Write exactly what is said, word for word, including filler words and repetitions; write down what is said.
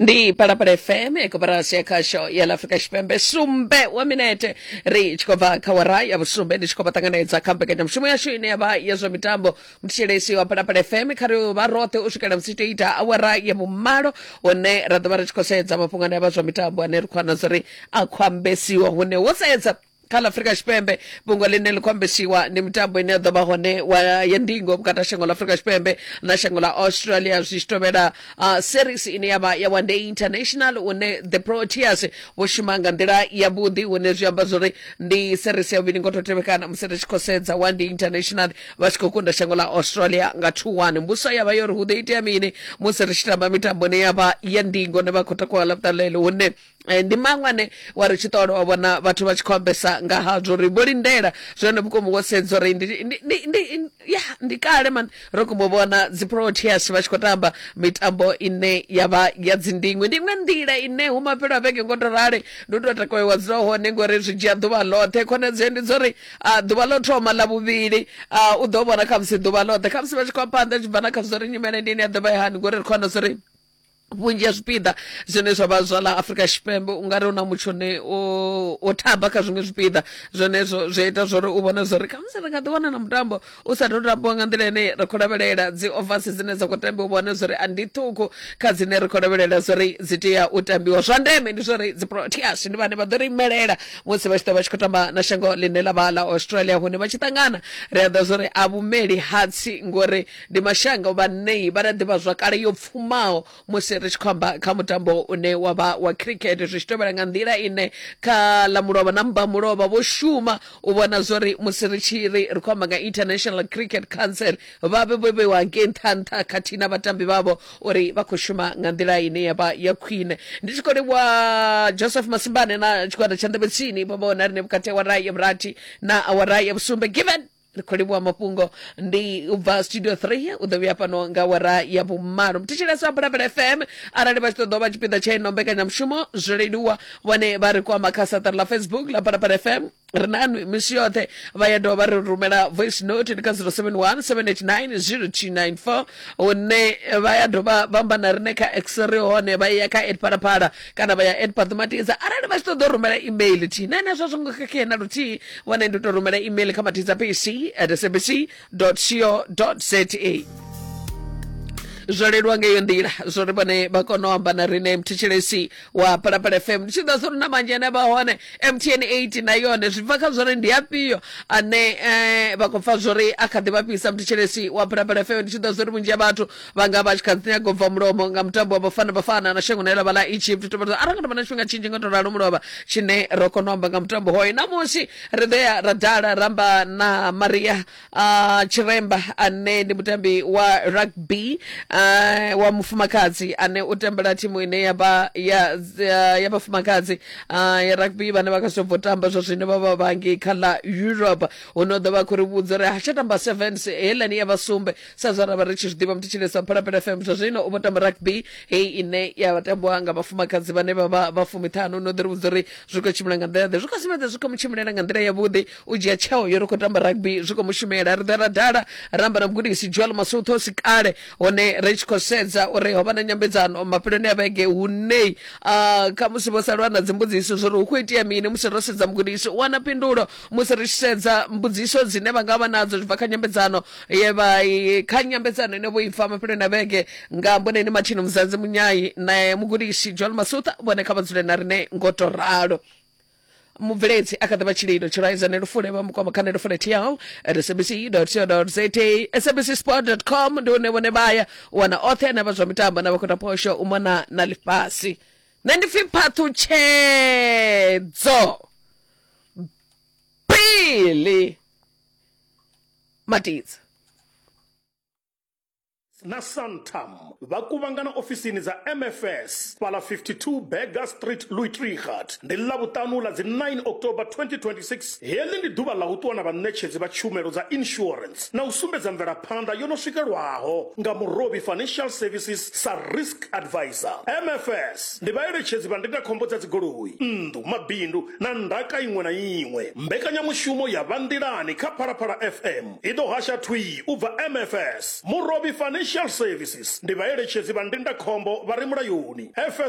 Ndi Phalaphala F M, koporasi ya khasho ya ḽa Afrika Tshipembe. Sumbe wa minete ri tshi khou bva kha wara ya vhusumbe, ndi tshi khou vha ṱanganedza kha mbekanyamushumo yashu ine ya vha ya zwa mitambo. Muthetshelesi wa Phalaphala F M, kha ri vha roṱhe u swikela musi tou ita awara ya vhumalo, hune ra ḓo vha ri tshi khou sedza mafhungo ane a vha zwa mitambo ane ri khou wana zwa uri a khou ambesiwa, hune wo sedza kha ḽa Afrika Tshipembe fhungo ḽine ḽi khou ambesiwa ndi mitambo ine ya ḓo vha hone wa ya ndingo vhukati ha shango ḽa Afrika Tshipembe na shango ḽa Australia, zwi tshi tovhela uh, series ine ya vha ya One Day International, hune the Proteas vho shuma nga nḓila yavhuḓi, hune zwi amba zwori ndi series ya vhuvhili ngo to tevhekana musi ri tshi khou sedza One Day International vha tshi khou kunda shango ḽa Australia nga two one. Mbuso ya vha yo ri hu ḓo itea mini musi ri tshi tamba mitambo ine ya vha ya ndingo ne vha khou takuwa ḽavhuṱanu ḽeḽo, hune eh, ndi maṅwe ane wa ri tshi ṱola wa vhona vhathu vha tshi khou ambesa nga hazwo uri vho lindela zwone vhukuma, wo sedza uri ndi, ndi, ndi, ndi, ya ndi kale man ro kumbo vhona dzi Proteas vha tshi khou tamba mitambo ine ya vha ya dzindingwe. Ndi iṅwe nḓila ine hu mafhelo a vhege ngo to rali ndi u tou takuwa wa dzula hone, ngori zwi dzhia ḓuvha ḽoṱhe. Khonadzeo ndi dzo uri ah, ḓuvha ḽo thoma ḽa vhuvhili ah, u ḓo vhona khamusi ḓuvha ḽoṱhe, khamusi vha tshi khou phanḓa tshi bva na kha zwa uri nyimele ndi ine ya ḓo vha i hani, ngori ri khou wana zwa uri vhunzhi ha zwipiḓa zwine zwa vha zwa ḽa Afrika Tshipembe u nga ri hu na mutsho une o thaba kha zwiṅwe zwipiḓa. Zwenezwo zwi ita zwori u vhone zwori khamusi ri nga ḓi wana na mutambo u sa tou tambiwa nga nḓila ine ra khou lavhelela. Dzi overs dzine dza khou tambiwa, u vhone zwori a ndi ṱhukhu kha dzine ri khou lavhelela zwori dzi tea u tambiwa. Zwa ndeme ndi zwori dzi Proteas ndi vhane vha ḓo ri imelela musi vha tshi ḓo vha tshi khou tamba na shango ḽine ḽa vha ḽa Australia, hune vha tshi ṱangana ri a ḓa zwori a vhumeli hatsi, ngori ndi mashango vhanei vha na ḓivha zwakale yo pfumaho musi ri tshi khou amba kha mutambo une wa vha wa cricket, zwi tshi tovhela nga nḓila ine kha ḽa mulovha na mba mulovha vho shuma u vhona zwori musi ri tshi ri ri khou amba nga International Cricket Council vha vhe vho vheiwa ngei nṱha nṱha khathihi na vhatambi vhavho uri vha khou shuma nga nḓila ine ya vha ya khwine. Ndi tshi khou livhuwa Joseph Masimbane na tshigwada tsha Nḓevhe Tsini vho vha na rine vhukati ha awara ya vhurathi na awara ya vhusumbe. Given ri khou livhuwa mafhungo ndi u bva studio three, u ḓo vhuya fhano nga awara ya vhumalo. Muthetshelesi wa Phalaphala F M, arali vha tshi ṱoḓa u vha tshipiḓa tsha ino mbekanyamushumo, zwo leluwa, vhone vha ri kwama kha saṱari ḽa Facebook ḽa Phalaphala F M, ri na nwi misi yoṱhe. Vha ya dovha vha ri rumela voice note ndi kha zero seven one seven eight nine zero two nine four, hune vha ya dovha vha amba na rine kha X, ri hone, vha ya kha at Phalaphala kana vha ya at Paṱumatiza. Arali vha tshi ṱoḓa u rumela email thihi na henezwo zwo ngo khakhea na luthihi, vhone ndi u tou rumela email kha matiza p c at s a b c co za. Zwo leluwa nga iyo nḓila zwo ri vhone vha kone u amba na rine. Mthetshelesi wa Phalaphala F M, ndi tshi ḓa zwo ri na manzhi ane vha hone M T N eight na yone zwi bva kha zwori ndi afhio ane eh, vha khou pfa zwori a kha ḓi vha fhisa. Mthetshelesi wa Phalaphala F M, ndi tshi ḓa zwori vhunzhi ha vhathu vha nga vha tshi kha ḓi nyaga u bva mulomo nga mutambo wa Bafana Bafana na shango ḽa vha ḽa Egypt. Tovha arali nga tovha na tshifhinga tshinzhi nga to ralo mulovha tshine ro kona u amba nga mutambo hoyo, namusi ri ḓo ya ra dala ramba na Maria uh, Tshiremba ane ndi mutambi wa rugby uh, wa mufumakadzi ane u tambela thimu ine ya vha ya, ya, ya vhafumakadzi uh, ya rugby vhane vha kha zwi bvo tamba zwa zwino vha vha vhangi kha ḽa Europe, hune u ḓo vha khou ri vhudza uri ha tsha tamba sevens heiḽani ya vhasumbe sa zwa ra vha ri tshi zwi ḓivha. Muthetshelesi wa Phalaphala F M, zwa zwino u vho tamba rugby heyi ine ya vha tambiwa nga vhafumakadzi vhane vha vha vha fumiṱhanu. No ḓo ri vhudza uri zwi khou tshimbila nga nḓila ḓe, zwi khou sumbedza zwi khou mu tshimbilela nga nḓila yavhuḓi. U dzhia tsheo yo ri khou tamba rugby zwi khou mu shumela. Ri ḓo ra dala ramba na mugudisi Joel Masutho si kale, hone ri tshi khou sedza uri ho vha na nyambedzano mafheloni a vhege, hune uh, khamusi vho salwa na dzimbudziso zwori hu khou itea mini musi ro sedza mugudisi u wana phindulo, musi ri tshi sedza mbudziso dzine vha nga vha nadzo zwi bva kha nyambedzano ye vha i- kha nyambedzano ine vho ipfa mafheloni a vhege nga mboneni Martin Muzanzi Munyai na mugudisi Joel Masutha. Vhone kha vha dzule na rine ngo to ralo. Mubveledzi a kha ḓi vha Tshililo Tshilaiza Nelufule, vha mukwama kha nelufule tl at s a b c co za, s a b c sport com ndi hune vhone vhaya u wana oṱhe ane vha zwa mitambo na vha khou ta phosho u mona na ḽifhasi. Nṋe ndi pfi Phaṱhutshedzo Bili Matidza. Na Santam vha kuvhangana ofisini dza M F S fhala fifty-two Berger Street, Louis Trichardt. Ndi Ḽavhuṱanu ḽa dzi nine October twenty twenty-six. Heḽi ndi ḓuvha ḽa u ṱuwa na vhaṋetshedzi vha tshumelo dza insurance na u sumbedza mvelaphanḓa yo no swikelwaho nga Murovhi Financial Services sa risk advisor. M F S ndi vhaeletshedzi vha ndindakhombo dza dzigoloi, nnḓu, mabindu na ndaka iṅwe na iṅwe. Mbekanyamushumo ya Vhanḓilani kha Phalaphala F M i ḓo hasha thwii u bva M F S. Murovhi Financial Services ndi vhaeletshedzi vha ndindakhombo vha re mulayoni. F S.